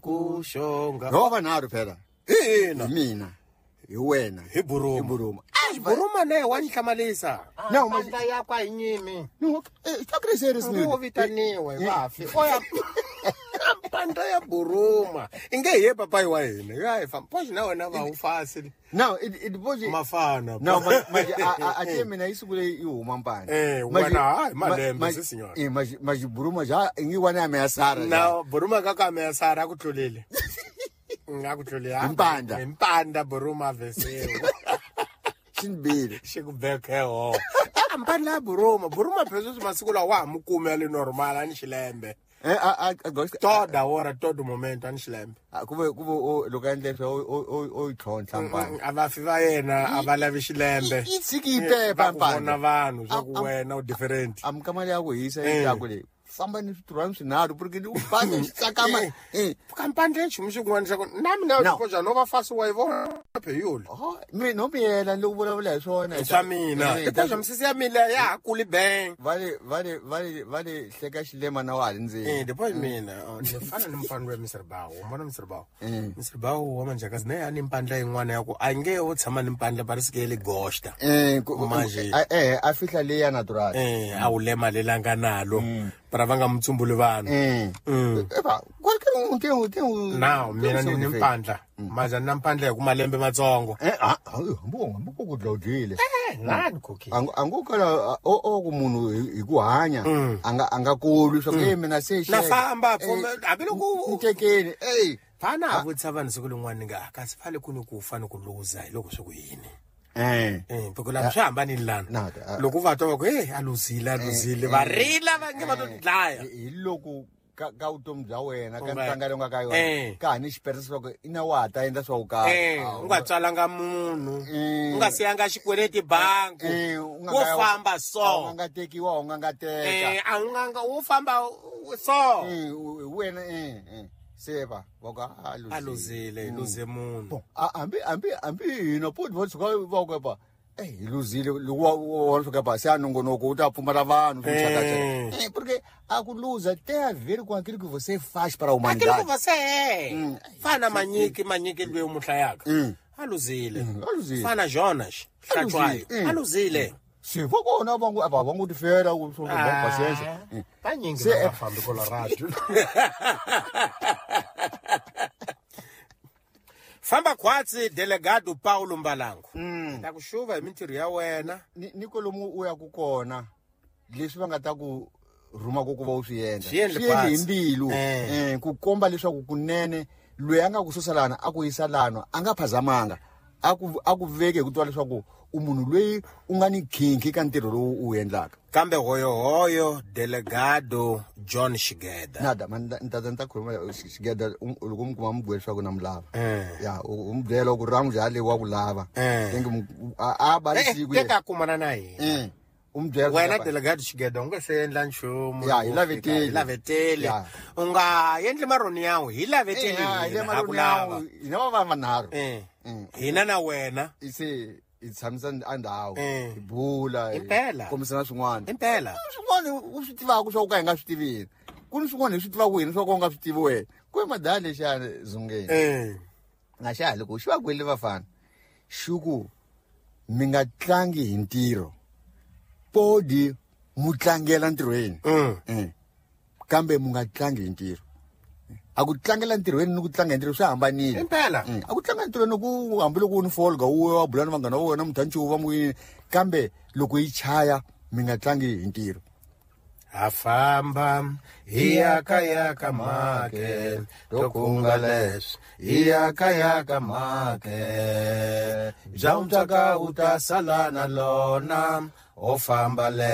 Ku xonga. Ho vanharhu phela. Ina. Hi mina, hi wena, hi Buruma. Hi Buruma. Buruma ne wa ni hlamalisa. No, mpandla yakwa hi nyimi. No, eh, serious ni. Wo vitaniwa hi vafi. Oya. Mpandla ya Buruma. Inge hi ye papayi wa hina. Ya hi famba. Poxa na wena va wu fasi. No, it was mafana. No, manje a te mina yi sungule yi huma mpandla. Eh, wena hayi malembe se signor. Eh, manje Buruma ja ingi wana ya meya Sara. No, Buruma ka ka meya Sara ku tlulile. Nga ku tlulile. Mpandla. Mpandla Buruma vese. Xinbile. Xi ku beke ho. Mpandla ya Buruma, Buruma phela sweswi masiku lawa wa ha mu kumi ya le normal a ni xilembe. Eh, a toda ora todo momento a ni xilembe. Kuve kuve loko a endle swo o yi tlhontlha mpandla. A vafi va yena a va lavi xilembe. Yi tshiki yi pepa mpandla. Vona vanhu swa ku wena u different. Amukama leya ku hisa yi ta ku leyi. Famba ni switirhwani swinharhu porque ni u famba xi tsakama. Kampandla nchumu xin'wana xa ku na mina u no va fasi wa yi vona pheyula. Mi no miyela ni loko vulavula hi swona. Swa mina. Tipoxa misisi ya mina ya ha kuli bang. Va le hleka xilema na wa ha ri ndzeni. Eh, tipoxa mina ni fana ni mufana wa Mr. Bawo, u vona Mr. Bawo. Mr. Bawo wa manjakazi na ya ni mpandla yin'wana ya ku a nge u tshama ni mpandla ba ri sike le gosta. Eh, a fihla leya natural. Eh, a wu lema lelanga nalo. Para va nga mutsumbuli vanhu. Eva, Now mina ni mpandla. Maza na mpandla hi ku malembe matsongo. Eh, hambi ku dlawudlile. Eh, ngani cookie. Angu kala o ku munhu hi ku hanya anga nga kulu swa ku mina se na famba hambi loko u tekeni. Eh, fana a vutisa vanhu siku lin'wana nga kasi fale ku ni ku fa ni ku luza hi loko swi ku yini. Eh, porque la swi hambanile lana. Loko va twa va ku a luzile va rila va nge va to dlaya. Hi loko ka vutomi bya wena ka ntanga leyi nga ka yona ka ha ni xiperisa swa ku ina wa ha ta endla swa ku karhi. U nga tswalanga munhu, u nga siyanga xikweleti bangi, wo famba so. A nga tekiwa, u nga teka. A u nga wo famba so. Wena se va va ku a luzile, luze munhu. Hambi hina poti va tshuka va ku pa hi luzile loko wa fika pa se a nongonoko u ta pfumala vanhu swi porque a ku luza tem a ver com aquilo que você faz para a humanidade. Aquilo que você é. Fana manyiki loyi u mu hlayaka. A luzile. Fana Jonas Hlatshwayo. A luzile. Se va kona va ngo tifela ku swo va paciência. Vanyingi va fambi Colorado. Famba khwatsi delegado Paulo Mbalango. Ta ku xuva hi mintirho ya wena. Ni kolomu u ya ku kona leswi va nga ta ku rhuma ku va u swi endla. Swi endle hi mbilu. Ku komba leswaku kunene loyi a nga ku susa lana a ku yisa lana a nga phazamanga. A ku veke hi ku twa leswaku u munhu loyi u nga ni khinkhi ka ntirho lowu u endlaka. Kambe hoyohoyo delegado John Shigeda. Nada, nta khuluma Shigeda loko mi kuma mi bwela leswaku na mu lava. Ya, u mi byela ku ramu jale wa ku lava. Tenge a ba siku. Teka kumana na yena. U mi byela wena delegado Shigeda u nga se endla nchumu. Ya, hi lavetele. Hi lavetele. U nga endli maroni yawe, hi lavetele. Hi maroni yawe. Hina va vanharhu. Hina na wena. Se hi tshamisa a ndhawu hi bula impela kombisana swin'wana impela swin'wana u swi tivaka swa ku ka hi nga swi tivini ku ni swin'wana hi swi tivaka hina swa ku u nga swi tivi wena ku i madala lexiyani zungeni nga xa ha loko xi va kwele vafana xi ku mi nga tlangi hi ntirho podi mu tlangela ntirhweni kambe mu nga tlangi hi ntirho. A ku tlangela ntirhweni ni ku tlanga hi ntirho swi hambanile. Impela. A ku tlanga ntirhweni ku hambi loko u ni folga u wa bula ni vanghana wa wena muthanchi va mu kambe loko yi chaya mi nga tlangi hi ntirho. Ha famba hi ya ka make tokunga leswi hi ya ka make bya mutaka u ta sala na lona o famba le.